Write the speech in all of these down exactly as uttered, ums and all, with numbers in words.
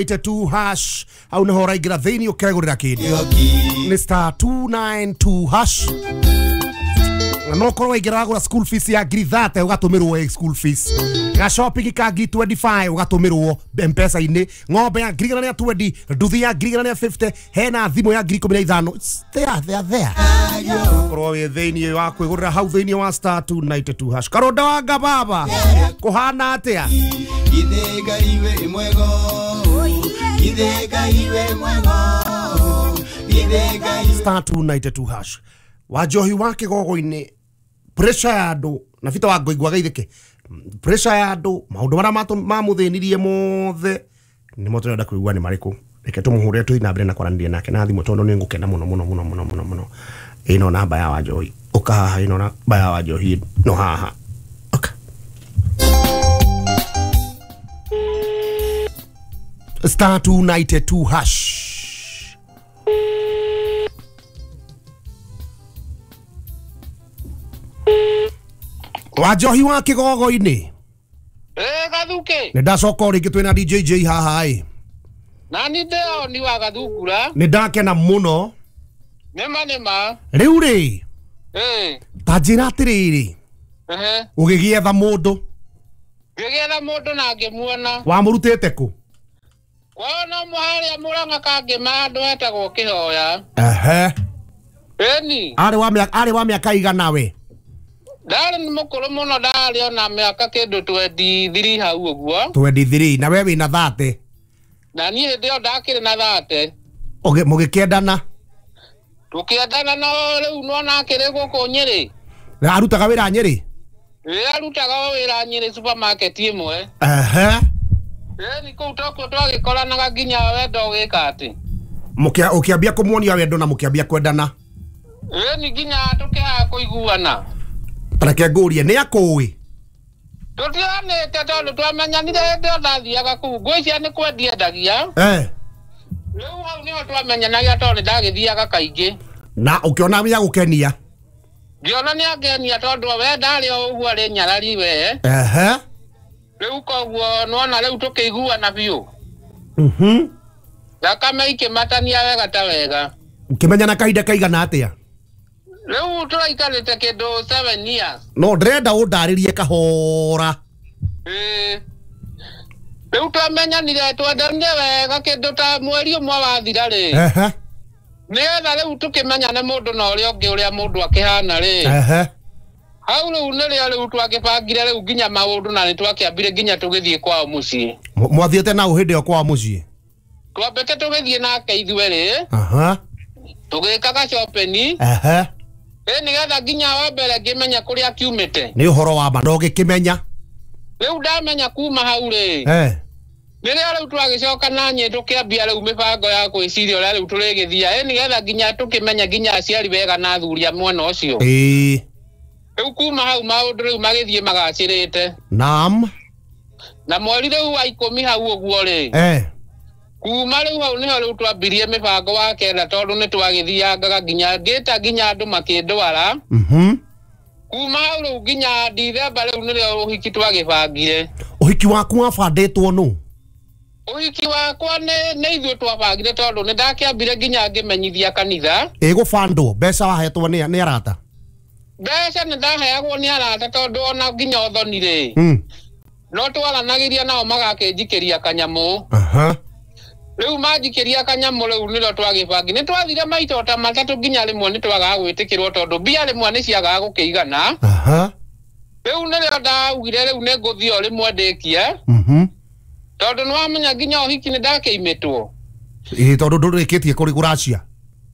two hash au niho ũraingĩra thĩinĩ ũkegũrĩra kĩndũ nĩ star two nine two hash na no korwo waingĩra wagũra school fees ya ngiri thate ũgatũmĩrwo school fees ga shopping ka ngiri twenty five ũgatũmĩrwo M-Pesa-inĩ ng'ombe ya ngiri igana rĩa twenty nduthi ya ngiri igana rĩa fifty hena thimũ ya ngiri ikũmi na ithano. It's there, there, there. Korwo wĩ thĩinĩ wa kwĩgũrĩra hau thĩinĩ wa star two nine two hash. Karũnda wa ngababa kũhana atĩa? Star two nine two hash. Wanjohi wa kĩgogo-inĩ pressure ya andũ na bita wa ngoigua geithĩke pressure ya andũ maũndũ marĩa mamũthĩnirie mothe nĩmo tũrenda kũigua nĩ marĩkũ. Reke tũmũhũrĩre tũthiĩ na mbere na kwaranĩria nake na thimũ tondũ nĩ ngũkena mũno mũno mũno mũno mũno mũno. Ĩno namba ya Wanjohi ũka haha, ĩno namba ya Wanjohi no haha ũka. Star two nine two hash. Wanjohi wa kĩgogo-inĩ. Eh Gathuke. Nĩ ndacoka o rĩngĩ twĩna D J J haha ĩ. Na nĩ ndĩo ni wa Gathungura. Nĩ ndakena mũno. Nĩma nĩma. Rĩu rĩ. Eh. Ta njĩra atĩrĩrĩ. Ehe. Ũgĩgĩetha mũndũ. Ngĩgĩetha mũndũ na ngĩmuona. Wamũrutĩte kũ? Kwao no mũharĩa Mũrang'a kangĩma andũ etagwo Kĩhoya. Ehe. Ĩni. Arĩ wa mĩaka arĩ wa mĩaka igana we? Ndarĩ nĩ mũkũrũ mũno, ndarĩ ona mĩaka kĩndũ twenty three hau ũguo. twenty three na we wĩna thate? Na niĩ hĩndĩ ĩyo ndakĩrĩ na thate. Ũgĩ mũgĩkĩendana? Tũkĩendana no rĩu nĩwona akĩrĩ gũkũ Nyĩrĩ. Na arutaga wĩra Nyĩrĩ? Ĩĩ arutaga wĩra Nyĩrĩ supermarket ĩmwe. Ehe. Ĩni kũu tokuo twagĩkoranaga nginya wendo ũgĩka atĩ. Mũkĩa ũkĩambia kũmuonia wendo na mũkĩambia kwendana? Ĩni nginya tũkĩaga kũiguana. Reke ngũrie nĩ akũĩ? Tũtionete tondũ twamenyanire hĩndĩ ĩyo ndathiaga kũu ngwĩciria nĩ kwendia endagia. Eh. Rĩu hau nĩho twamenyanagia tondũ nĩ ndagĩthiaga kaingĩ. Na ũkĩona nĩ agũkenia? Ngĩona nĩ angenia tondũ we ndarĩ o ũguo arĩ nyarari we. Ehe. Rĩu koguo nĩwona rĩu tũkĩiguana biũ. Mhm. Thakame ikĩmatania wega ta wega. Ũkĩmenyana kahinda kaigana atĩa? Rĩu tũraikarĩte kĩndũ seven years. No ndĩrenda ũndarĩrie kahora. Ĩĩ. Rĩu twamenyanire twendanire wega kĩndũ ta mweri ũmwe wathira rĩ. Ehe. Nĩgetha rĩu tũkĩmenyane mũndũ na ũrĩa ũngĩ ũrĩa mũndũ akĩhana rĩ. Ehe. Hau rĩu nĩrĩo rĩu twagĩbangire rĩu nginya maũndũ na nĩtwakĩambire nginya tũgĩthiĩ kwao mũciĩ. Mwathiĩte nao hĩndĩ ĩyo kwao mũciĩ? Twambĩte tũgĩthiĩ nake ithuerĩ. Aha. Tũgĩkaga shopping. Ehe. Ĩ nĩgetha nginya wa mbere ngĩmenya kũrĩa kiumĩte. Nĩ ũhoro wa ma no ũgĩkĩmenya? Rĩu ndamenya kuma hau rĩ. Eh. Rĩrĩa rĩu twagĩcoka na niĩ tũkĩambia rĩu mĩbango ya gwĩciria ũrĩa rĩu tũrĩgĩthia. Ĩ nĩgetha nginya tũkĩmenya nginya aciari wega na athuri a mwena ũcio. Ĩĩ. Rĩu kuma hau maũndũ rĩu magĩthiĩ magacĩrĩte. Naam. Na mweri rĩu wa ikũmi hau ũguo rĩ. Eh. Kuma rĩu hau nĩho rĩu twambirie mĩbango wa kenda tondũ nĩ twagĩthiangaga nginya ngĩta nginya andũ makĩndwara. Mhm. Kuma hau rĩu nginya Dithemba rĩu nĩrĩo ũhiki twagĩbangire. Ũhiki waku wabandĩtwo nũ? Ũhiki wakwa nĩ nĩ ithuĩ twabangire tondũ nĩ ndakĩambire nginya ngĩmenyithia kanitha. Ĩgũbandwo mbeca wahetwo nĩ nĩ arata? Mbeca nĩ ndaheagwo nĩ arata tondũ ona nginya ũthoni rĩ. Mm. No twaranagĩria nao magakĩnjikĩria kanyamũ. Aha. Rĩu manjikĩria kanyamũ rĩu nĩrĩo twagĩbangi. Nĩ twathire maita ta matatũ nginya rĩmwe nĩ twagaga gwĩtĩkĩrwo tondũ mbia rĩmwe nĩ ciagaga gũkĩigana. Aha. Rĩu nĩrĩo ndaugire rĩu nĩ ngũthiĩ o rĩmwe ndĩkie. Mhm. Tondũ nĩwamenya nginya ũhiki nĩ ndakĩimĩtwo. Ĩĩ tondũ ndũrĩkĩtie kũrĩ kũracia.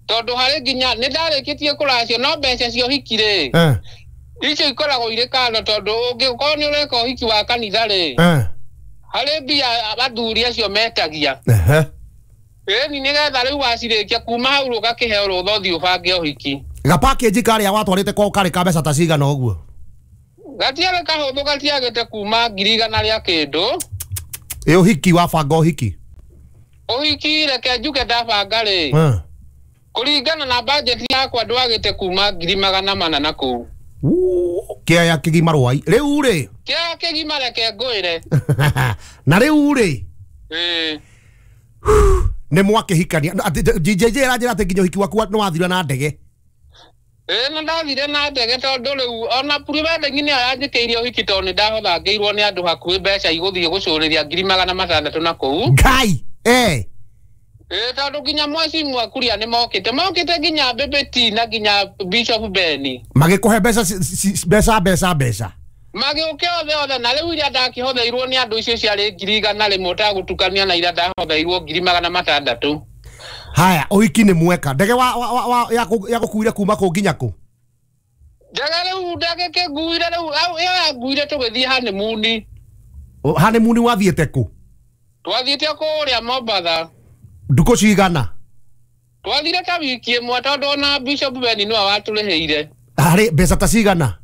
Tondũ harĩ nginya nĩ ndarĩkĩtie kũracia no mbeca cia ũhiki rĩ. Eh. Icio ikoragwo irĩ kando tondũ ũngĩkorwo nĩ ũreka ũhiki wa kanitha rĩ. Eh. Harĩ mbia athuri acio metagia. Ehe. Ĩni nĩgetha rĩu wacirĩkia kuma hau ũgakĩheo rũtha ũthiĩ ũbange ũhiki. Ga package karĩa watwarĩte kwao karĩ ka mbeca ta cigana ũguo? Gatiarĩ kahũthũ gatiagĩte kuma ngiri igana rĩa kĩndũ. Ĩ ũhiki wabanga ũhiki? Ũhiki reke njuge ndabanga rĩ. Eh. Kũringana na budget yakwa ndwagĩte kuma ngiri magana mana na kũu. Kĩaya kĩgima rwai. Rĩu rĩ? Kĩaya kĩgima reke ngwĩre. Na rĩu rĩ? Ĩĩ. Nĩ mwakĩhikania J J J aranjĩra atĩ nginya ũhiki waku nĩ wathira na ndege. Ĩĩ nĩ ndathire na ndege tondũ rĩu ona pre-wedding nĩyo yanjĩkĩirie ũhiki tondũ nĩ ndahothangĩirwo nĩ andũ hakuhĩ mbeca igũthiĩ gũcũrĩria ngiri magana matandatũ na kũu. Ngai eh Ĩĩ tondũ nginya mwecimu Kuria nĩ mokĩte mokĩte nginya Bebeti na nginya Bishop Beni magĩkũhe mbeca mbeca mbeca mbeca magĩũke othe othe na rĩu iria ndakĩhotheirwo nĩ andũ icio ciarĩ ngiri igana rĩmwe ũtagũtukania na iria ndahotheirwo ngiri magana matandatũ. Haya ũhiki nĩ mweka ndege wa, wa, wa, ya gũkuire kuma kũ nginya kũ? Ndege rĩu ndege kĩnguire rĩu ĩyo yanguire tũgĩthiĩ honeymoon. Honeymoon wathiĩte kũ? Twathiĩte kũrĩa Mombatha. Ndukũ cigana? Twathire ta wiki ĩmwe tondũ ona Bishop Beni nĩwe watũrĩhĩire. Harĩ mbeca ta cigana?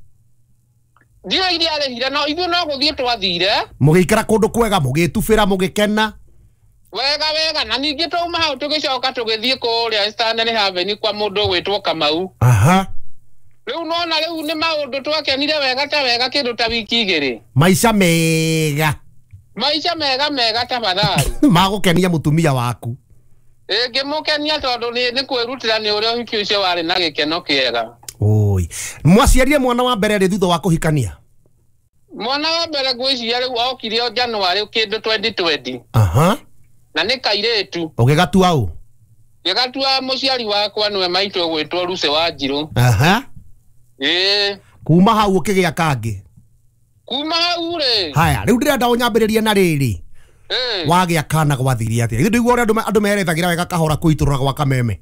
Ndiũĩ iria arĩhire no ithuĩ no gũthiĩ twathire. Mũgĩikara kũndũ kwega mũgĩtubĩra mũgĩkena. Wega wega na ningĩ twauma hau tũgĩcoka tũgĩthiĩ kũrĩa Stanley Haven kwa mũndũ ũgwĩtwo Kamau. Aha. Rĩu nona rĩu nĩ maũndũ twakenire wega ta wega kĩndũ ta wiki igĩrĩ. Maica mega. Maica mega mega tafadhali. Magũkenia mũtumia waku. Ĩĩ ngĩmũkenia tondũ nĩ kwĩrutĩra nĩ ũrĩa ũhiki ũcio warĩ na gĩkeno kĩega. Oi. Mwaciarire mwana wa mbere rĩ thutha wa kũhikania? Mwana wa mbere ngwĩciria rĩu okire o January kĩndũ twenty twenty. Aha. Na nĩ kairĩtu. Ũgĩgatua ũ? Ngĩgatua mũciari wakwa nĩwe maitũ ũgwĩtwo Lucy Wanjirũ. Aha. Ĩĩ. Kuma hau ũkĩgĩa kangĩ? Kuma hau rĩ. Haya, rĩu ndĩrenda ũnyambĩrĩrie na rĩrĩ. Ĩĩ. Wagĩa kana gwathire atĩa? Ithuĩ ndũigua ũrĩa andũ merethagĩra wega kahora kũitũrũra gwa kameme.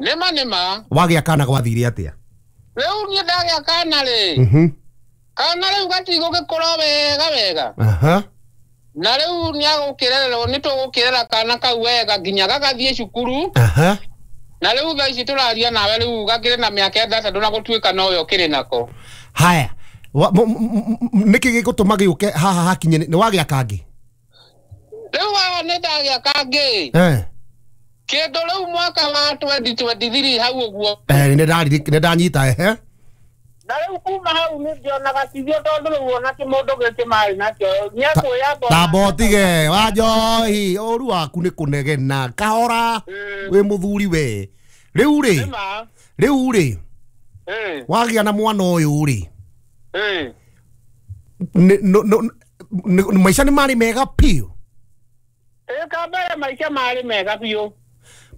Nĩma nĩma. Wagĩa kana gwathire atĩa? Rĩu niĩ ndagĩa kana rĩ. Mhm. Kana rĩu gatigũgĩkũra wega wega. Aha. Na rĩu nĩagũkĩrererwo nĩ tũgũkĩrera kana kau wega nginya gagathiĩ cukuru. Aha. Na rĩu thaa ici tũraria nawe rĩu gakĩrĩ na mĩaka ĩtandatũ na gũtuĩka nowe ũkĩrĩ nako. Haya. Nĩkĩ gĩgũtũma gĩũke haha hakinye nĩ wagĩa kangĩ? Rĩu haha nĩ ndagĩa kangĩ. Eh. Kĩndũ rĩu mwaka wa twenty twenty-three hau ũguo. Eh nĩ ndanyita ehe. Na rĩu kuma hau nĩ ndionaga tithio tondũ rĩu ona kĩmũndũ gĩkĩ marĩ nakĩo nĩakwĩyamba. Tamba ũtige wa njohi ũru waku nĩ kũnegena kahora wĩ mũthuri we. Rĩu rĩ rĩu rĩ wagĩa na mwana ũyũ rĩ maica nĩ marĩ mega biũ? Ĩĩ kambere maica marĩ mega biũ.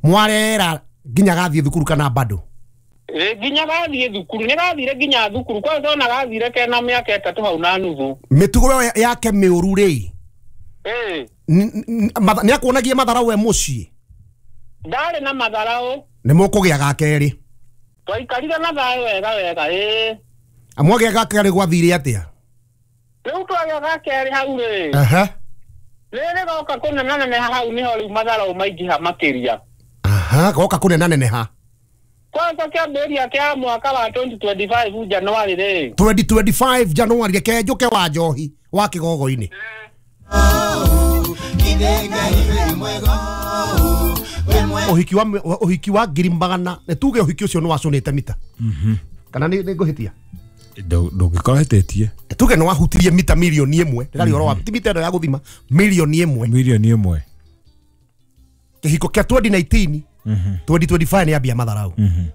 Mwarera nginya gathiĩ thukuru kana bado? Ĩĩ nginya gathiĩ thukuru nĩ gathire nginya thukuru kwanza ona gathire kena mĩaka ĩtatũ hau na nuthu. Mĩtugo yake mĩũru rĩ ĩĩ nĩ akuonagia matharau we mũciĩ? Ndarĩ na matharau. Nĩ mũkũgĩa ga kerĩ? Twaikarire na thayũ wega wega ĩĩ. Mwagĩa ga kerĩ gwathire atĩa? Rĩu twagĩa ga kerĩ hau rĩ. Aha. Rĩrĩ goka kũnenaneneha hau nĩho rĩu matharau maingĩha makĩria. Aha, goka kũnenaneneha. Kwanza kĩambĩrĩria kĩa mwaka wa twenty twenty-five January rĩ. twenty twenty-five January reke njũke wa njohi wa kĩgogo-inĩ. Ũhiki wa ũhiki wa ngiri magana nĩ tuge ũhiki ũcio nĩ wacũnĩte mita. Mhm. Kana nĩ ngũhĩtia? Ndũngĩkorwo hĩtĩtie. Tuge nĩ wahutirie mita milioni ĩmwe. Ndĩraria ũhoro wa ti mita ĩno ya gũthima milioni ĩmwe. Milioni ĩmwe. Kĩhiko kĩa twenty nineteen twenty twenty-five nĩ ambia matharau. Mhm.